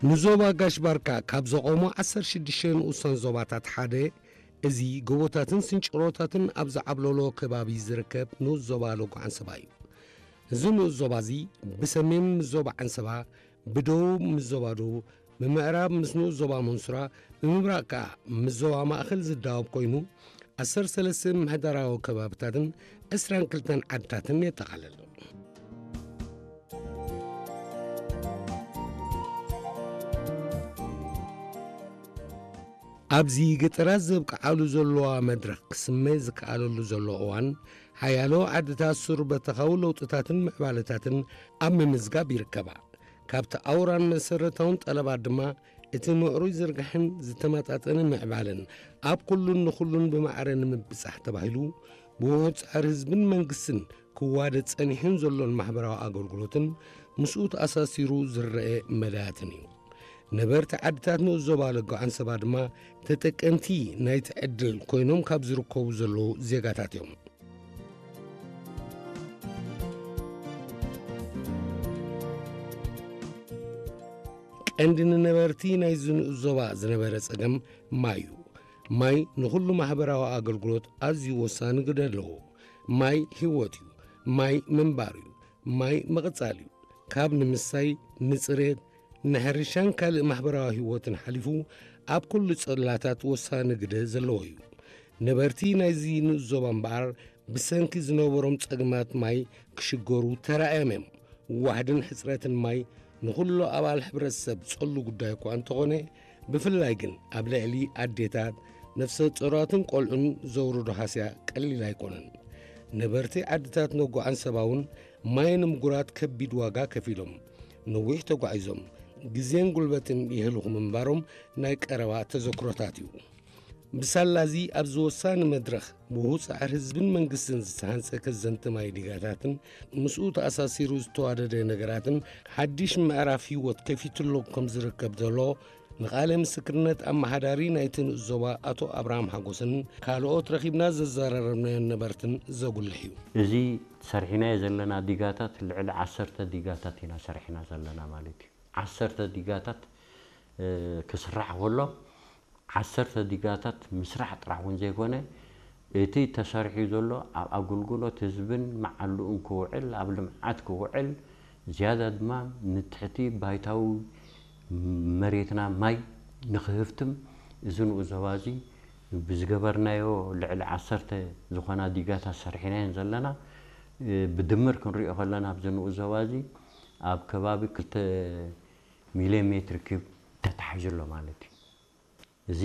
ንዞባ ጋሽ ባርካ ካብ ዘቖሙ ዓሰርተ ሽዱሽተ ንኡሳን ዞባታት ሓደ፣ እዚ ጎቦታትን ስንጭሮታትን ኣብ ዝዓብለሎ ከባቢ ዝርከብ ንኡስ ዞባ ሎጎ ዓንሰባ እዩ። እዚ ንኡስ ዞባ እዚ ብሰሜን ምስ ዞባ ዓንሰባ፣ ብደቡብ ምስ ዞባ ደቡብ፣ ብምዕራብ ምስ ንኡስ ዞባ መንሱራ፣ ብምብራቕ ከኣ ምስ ዞባ ማእከል ዝዳወብ ኮይኑ፣ ዓሰርተ ሰለስተ ምምሕዳራዊ ከባብታትን ዕስራን ክልተን ዓድታትን የጠቓልል። ኣብዚ ገጠራት ዘብቅዓሉ ዘለዋ መድረኽ ክስመ ዝከኣለሉ ዘሎ እዋን፣ ሓያሎ ዓድታት ሱር በተኻዊ ለውጥታትን ምዕባለታትን ኣብ ምምዝጋብ ይርከባ። ካብቲ ኣውራን መሰረታውን ጠለባት ድማ፣ እቲ ምዕሩይ ዝርጋሕን ዝተመጣጠነ ምዕባለን ኣብ ኩሉን ንኹሉን ብማዕረ ንምብጻሕ ተባሂሉ፣ ብውሑድ ጻዕሪ ህዝብን መንግስትን ክዋደድ ጸኒሑን ዘሎን ማሕበራዊ ኣገልግሎትን ምስኡ ተኣሳሲሩ ዝረአ መዳያትን እዩ። ነበርቲ ዓድታት ንኡስ ዞባ ሎጎ ዓንሰባ ድማ ተጠቀምቲ ናይቲ ዕድል ኮይኖም ካብ ዝርከቡ ዘለዉ ዜጋታት እዮም። ቀንዲ ንነበርቲ ናይዚ ንኡስ ዞባ ዝነበረ ጸገም ማይ እዩ። ማይ ንኹሉ ማሕበራዊ ኣገልግሎት ኣዝዩ ወሳኒ ግደ ኣለዎ። ማይ ህይወት እዩ። ማይ ምንባር እዩ። ማይ ምቕጻል እዩ። ካብ ንምስታይ፣ ንጽሬት፣ ንሕርሻን ካልእ ማሕበራዊ ህይወትን ሓሊፉ ኣብ ኩሉ ጽላታት ወሳኒ ግደ ዘለዎ እዩ። ነበርቲ ናይዚ ንኡስ ዞባ እምበኣር ብሰንኪ ዝነበሮም ጸገማት ማይ ክሽገሩ ተራእዮም እዮም። ዋሕድን ሕጽረትን ማይ ንኹሉ ኣባል ሕብረተሰብ ጸሉ ጉዳይ እኳ እንተኾነ፣ ብፍላይ ግን ኣብ ልዕሊ ኣዴታት፣ ነፍሰ ጡራትን ቆልዑን ዘውርዶ ሃስያ ቀሊል ኣይኮነን። ነበርቲ ዓድታት ሎጎ ዓንሰባ እውን ማይ ንምጉራት ከቢድ ዋጋ ከፊሎም፣ ነዊሕ ተጓዒዞም፣ ግዜን ጉልበትን የህልኹ ምንባሮም ናይ ቀረባ ተዘክሮታት እዩ። ብሳላ እዚ ኣብዚ ወሳኒ መድረኽ ብውሑድ ጻዕሪ ህዝብን መንግስትን ዝተሃንጸ ከዘንቲ ማይ ዲጋታትን ምስኡ ተኣሳሲሩ ዝተዋደደ ነገራትን ሓድሽ ምዕራፍ ህይወት ከፊትሎም ከም ዝርከብ ዘሎ ንቓለ ምስክርነት ኣመሓዳሪ ናይቲ ንኡስ ዞባ ኣቶ ኣብርሃም ሓጎስን ካልኦት ረኺብና ዘዘራረብናዮን ነበርትን ዘጉልሕ እዩ። እዚ ሰሪሕናዮ ዘለና ዲጋታት ልዕሊ ዓሰርተ ዲጋታት ኢና ሰሪሕና ዘለና ማለት እዩ። ዓሰርተ ዲጋታት፣ እ፣ ክስራሕ ከሎ፣ ዓሰርተ ዲጋታት ምስራሕ ጥራሕ እውን ዘይኮነ፣ እቲ ተሰሪሑ ዘሎ ኣብ ኣገልግሎት ህዝብን መዓልኡን ክውዕል፣ ኣብ ልምዓት ክውዕል፣ ዝያዳ ድማ ንትሕቲ ባይታዊ መሬትና ማይ ንክህፍትም፣ እዚ ንኡስ ዞባ እዚ ብዝገበርናዮ ልዕሊ ዓሰርተ ዝኾና ዲጋታት ሰሪሕናየን ዘለና። እ፣ ብድምር ክንሪኦ ከለና፣ ኣብዚ ንኡስ ዞባ እዚ ኣብ ከባቢ ክልተ ሚልዮን ሜትር ኪዩብ ተታሒዙ ኣሎ ማለት እዩ። እዚ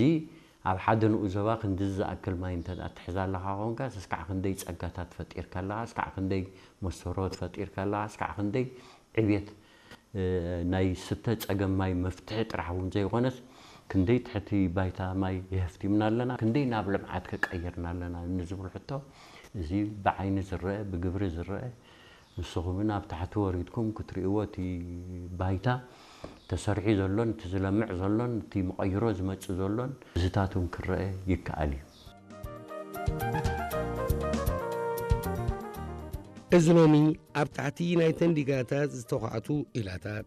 ኣብ ሓደ ንኡስ ዞባ ክንድዚ ዝኣክል ማይ እንተ ደኣ ትሕዝ ኣለኻ ኾንካ፣ እስካዕ ክንደይ ጸጋታት ፈጢርካ ኣለኻ፣ እስካዕ ክንደይ መስተርሆት ፈጢርካ ኣለኻ፣ እስካዕ ክንደይ ዕብየት፣ እ፣ ናይ ስተ ጸገም ማይ መፍትሒ ጥራሕ እውን ዘይኮነስ፣ ክንደይ ትሕቲ ባይታ ማይ የህፍቲምና ኣለና፣ ክንደይ ናብ ልምዓት ከቀይርና ኣለና ንዝብል ሕቶ፣ እዚ ብዓይኒ ዝረአ፣ ብግብሪ ዝረአ፣ ንስኹምን ኣብ ታሕቲ ወሪድኩም ክትርእይዎ፣ እቲ ባይታ ተሰሪሑ ዘሎን፣ እቲ ዝለምዕ ዘሎን፣ እቲ መቐይሮ ዝመጽእ ዘሎን፣ እዚታት እውን ክረአ ይከኣል እዩ። እዚ ሎሚ ኣብ ታሕቲ ናይተን ዲጋታት ዝተዃዕቱ ኢላታት፣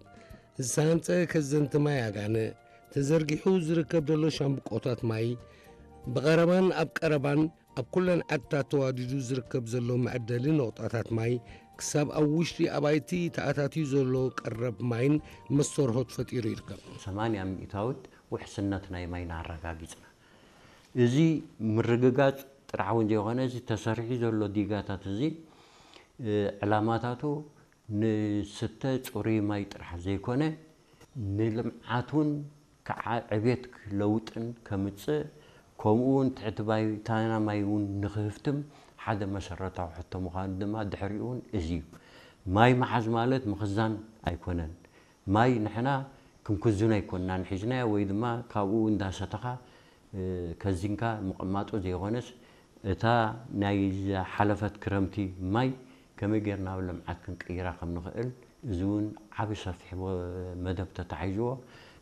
ዝተሃንጸ ከዘንቲ ማይ ኣጋንእ፣ ተዘርጊሑ ዝርከብ ዘሎ ሻምብቆታት ማይ፣ ብቐረባን ኣብ ቀረባን ኣብ ኩለን ዓድታት ተዋዲዱ ዝርከብ ዘሎ መዐደሊ ነቑጣታት ማይ፣ ክሳብ ኣብ ውሽጢ ኣባይቲ ተኣታትዩ ዘሎ ቀረብ ማይን መስተርሆት ፈጢሩ ይርከብ። ሰማንያ ሚእታዊት ውሕስነት ናይ ማይና ኣረጋጊጽና። እዚ ምርግጋጽ ጥራሕ እውን ዘይኮነ፣ እዚ ተሰሪሑ ዘሎ ዲጋታት እዚ፣ እ፣ ዕላማታቱ ንስተ ጽሩይ ማይ ጥራሕ ዘይኮነ፣ ንልምዓት እውን ከዓ ዕቤት ለውጥን ከምጽእ፣ ከምኡ እውን ትሕቲ ባይታና ማይ እውን ንክህፍትም ሓደ መሰረታዊ ሕቶ ምዃኑ ድማ ድሕሪኡ እውን እዚ እዩ። ማይ ምሓዝ ማለት ምኽዛን ኣይኮነን። ማይ ንሕና ክንክዝኖ ኣይኮንናን ሒዝናዮ፣ ወይ ድማ ካብኡ እንዳሰተኻ፣ እ፣ ከዚንካ ምቕማጡ ዘይኮነስ፣ እታ ናይ ዝሓለፈት ክረምቲ ማይ ከመይ ጌርና ናብ ልምዓት ክንቅይራ ከም ንኽእል፣ እዚ እውን ዓቢ ሰፊሕ ወ-፣ መደብ ተታሒዝዎ።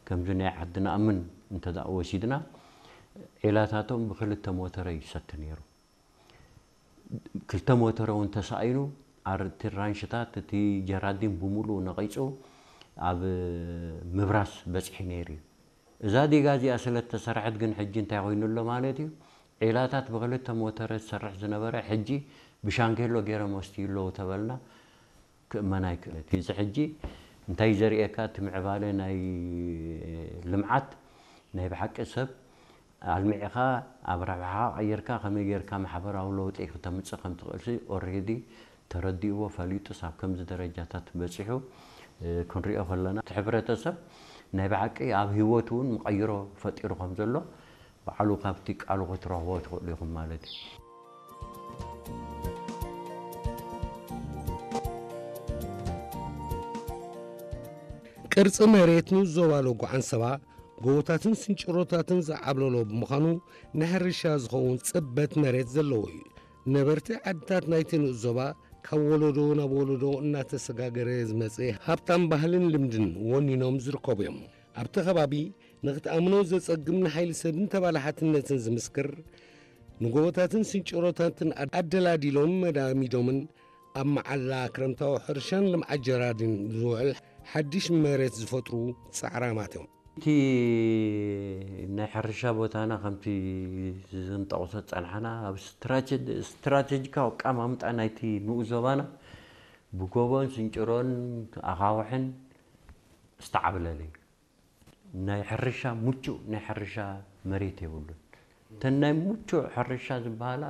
ከምዚ ናይ ዓዲ ንኣምን እንተ ደኣ ወሲድና፣ ዒላታቶም ብክልተ ሞተረ ይሰቲ ነይሩ። ክልተ ሞተረ እውን ተሳኢኑ፣ ኣር-፣ እቲ ራንሽታት፣ እቲ ጀራዲን ብምሉኡ ነቒጹ፣ ኣብ ምብራስ በጺሑ ነይሩ እዩ። እዛ ዲጋ እዚኣ ስለ እተሰርሐት ግን ሕጂ እንታይ ኮይኑ ኣሎ ማለት እዩ? ዒላታት ብክልተ ሞተረ ዝሰርሕ ዝነበረ ሕጂ ብሻንጌሎ ገይሮም ወስትዩ ኣለዉ ተበልና ክእመን ኣይክእለት። እዚ ሕጂ እንታይ ዘርእየካ? እቲ ምዕባለ ናይ ልምዓት ናይ ብሓቂ ሰብ ኣልሚዕኻ ኣብ ረብሓ ቀይርካ ከመይ ጌርካ ማሕበራዊ ለውጢ ክተምፅእ ከም ትኽእልሲ ኦሬዲ ተረዲእዎ ፈሊጡስ ኣብ ከምዚ ደረጃታት በፂሑ ክንሪኦ ከለና እቲ ሕብረተሰብ ናይ ብሓቂ ኣብ ህይወቱ እውን መቐይሮ ፈጢሩ ከም ዘሎ ባዕሉ ካብቲ ቃሉ ክትረኽቦ ትኽእሉ ኢኹም ማለት እዩ። ቅርጺ መሬት ንኡስ ዞባ ሎጎ ዓንሰባ ጎቦታትን ስንጭሮታትን ዝዓብለሎ ብምዃኑ ንሕርሻ ዝኸውን ጽበት መሬት ዘለዎ እዩ። ነበርቲ ዓድታት ናይቲ ንኡስ ዞባ ካብ ወለዶ ናብ ወለዶ እናተሰጋገረ ዝመጸ ሃብታም ባህልን ልምድን ወኒኖም ዝርከቡ እዮም። ኣብቲ ከባቢ ንኽትኣምኖ ዘጸግም ንሓይሊ ሰብን ተባላሓትነትን ዝምስክር ንጎቦታትን ስንጭሮታትን ኣደላዲሎም መዳሚዶምን ኣብ መዓላ ክረምታዊ ሕርሻን ልምዓት ጀራዲን ዝውዕል ሓድሽ መሬት ዝፈጥሩ ጻዕራማት እዮም። እቲ ናይ ሕርሻ ቦታና ከምቲ ዝንጠቕሶ ጸንሓና ኣብ ስትራቴጂካዊ ኣቀማምጣ ናይቲ ንኡስ ዞባና ብጎቦን ስንጭሮን ኣኻውሕን ዝተዓብለለ እዩ። ናይ ሕርሻ ምቹእ ናይ ሕርሻ መሬት የብሉን። እተን ናይ ምቹእ ሕርሻ ዝበሃላ